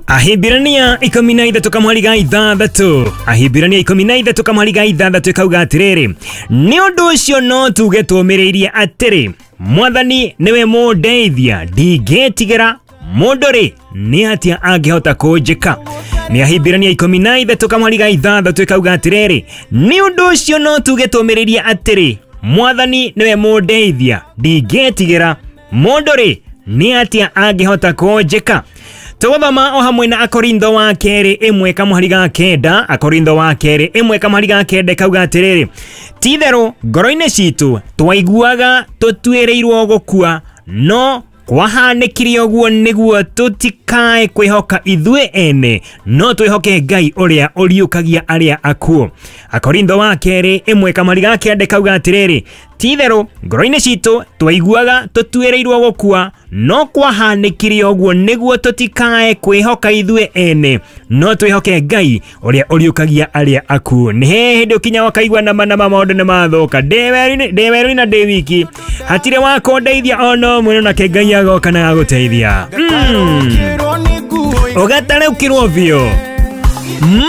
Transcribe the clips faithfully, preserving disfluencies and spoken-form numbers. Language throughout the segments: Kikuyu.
Ahibirania ikumi na ithatũ kamweri ga ithathatũ. Ahibirania ikumi na ithatũ kamweri ga ithathatũ ikauga atĩrĩrĩ, nĩ ũndũ ũcio no tuge tũmĩrĩirie atĩrĩ, Mwathani nĩwe mũndeithia, ndingĩtigĩra mũndũ rĩ nĩ atĩa angĩhota kũnjĩka. Nĩ Ahibirania ikumi na ithatũ kamweri ga ithathatũ ikauga atĩrĩrĩ, nĩ ũndũ ũcio no tuge tũmĩrĩirie atĩrĩ, Mwathani nĩwe mũndeithia, ndingĩtigĩra mũndũ rĩ nĩ atĩa angĩhota kũnjĩka. Tũgũthoma o hamwe na Akorintho wa kerĩ ĩmwe kamũhari ga kenda. Akorintho wa kerĩ ĩmwe kamũhari ga kenda ĩkauga atĩrĩrĩ, ti-itherũ ngoro-inĩ citũ twaiguaga tũtuĩrĩirwo gũkua, no kwahanĩkire ũguo nĩguo tũtikae kwĩhoka ithuĩ ene, no twĩhoke Ngai ũrĩa ũriũkagia arĩa akuũ. Akorintho wa kerĩ ĩmwe kamũhari ga kenda ĩkauga atĩrĩrĩ, ti-itherũ ngoro-inĩ citũ twaiguaga tũtuĩrĩirwo gũkua, no kwahanĩkire ũguo nĩguo tũtikae kwĩhoka ithuĩ ene, no twĩhoke Ngai ũrĩa ũriũkagia arĩa akuũ. Nĩ hĩndĩ ũkinya wakaigua nama nama maũndũ nĩ mathũka, ndĩ werũ-inĩ na ndĩ wiki, hatirĩ wa kũndeithia ona ũmwe, no nake Ngai agoka na agagũteithia. Ũgatarũkĩrwo biũ,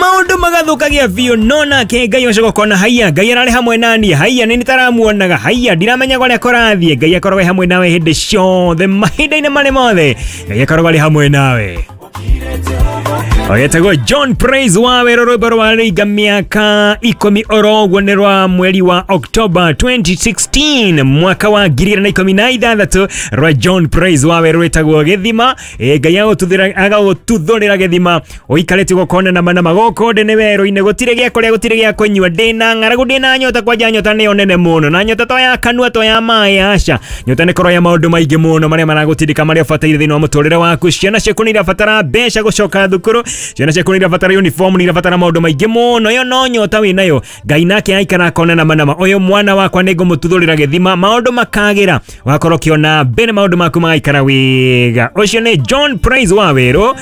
maũndũ magathũkagia biũ, no nake Ngai ũcoka ũkona haiya, Ngai ararĩ hamwe naniĩ, haiya nĩ nĩtaramuonaga, haiya ndiramenya kũrĩa kũrathiĩ. Ngai akoragwo e hamwe nawe hĩndĩ ciothe, mahinda-inĩ marĩ mothe, Ngai akoragwo arĩ hamwe nawe. Ogetagwo John Praise wa wero rwĩmbo rwa rĩinga mĩaka ikũmi oro ũguo nĩ rwa mweri wa October twenty sixteen mwaka wa ngiri igĩrĩ na ikũmi na ithathatũ, rwa John Praise wa wero rwĩtagwo Gĩthima. E, Ngai agagũtuthũrĩra gĩthima ũikarĩte gũkona nama nama gũkũ ndĩ nĩ werũ-inĩ, gũtirĩ gĩa kũrĩa, gũtirĩ gĩa kũnyua, ndĩna ng'aragu, ndĩna nyota, kwanja nyota nĩyo nene mũno, na nyota to ya kanua to ya maĩ, aca, nyota nĩ korwo ya maũndũ maingĩ mũno marĩa maragũtindĩka, marĩa ũbataire thĩinĩ wa mũtũrĩre waku. Ciana ciaku nĩ irabatara mbeca gũcoka thukuru, ciana ciaku nĩ irabatara uniform, nĩ irabatara maũndũ maingĩ mũno, ĩyo no nyota wĩ nayo. Ngai nake aikara akona nama nama, ũyũ mwana wakwa nĩ ngũmũtuthũrĩra gĩthima, maũndũ makagĩra, wakorwo ũkĩona mbere maũndũ maku magaikara wega. Ũcio nĩ John Praise wa wero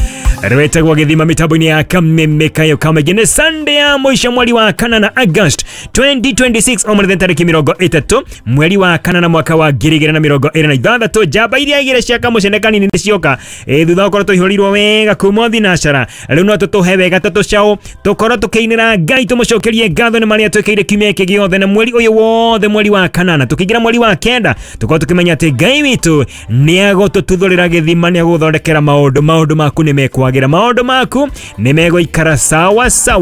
rwetagwo Gĩthima mĩtambo-inĩ ya Kameme Kayo Kamaingĩ. Nĩ Sunday ya mũico mweri wa kana na August twenty twenty-six, o mũthenya tarĩki mĩrongo ĩtatũ mweri wa kana na mwaka wa ngiri igĩrĩ na mĩrongo ĩrĩ na ithathatũ. Njamba iria igĩrĩ cia kamũcene kanini nĩ cioka, e, thutha wa gũkorwo tũihũrĩirwo wega kuma thinacara, rĩu no tũtũhe wega ta tũcaũ, tũkorwo tũkĩinĩra Ngai, tũmũcokerie ngatho nĩ marĩa twĩkĩire kiumia gĩkĩ gĩothe na mweri ũyũ wothe, mweri wa kanana tũkĩingĩra mweri wa kenda, tũkorwo tũkĩmenya atĩ Ngai witũ nĩ agũtũtuthũrĩra gĩthima, nĩ agũthondekera maũndũ, maũndũ maku nĩ mekwagĩra, maũndũ maku nĩ megũikara sawa sawa.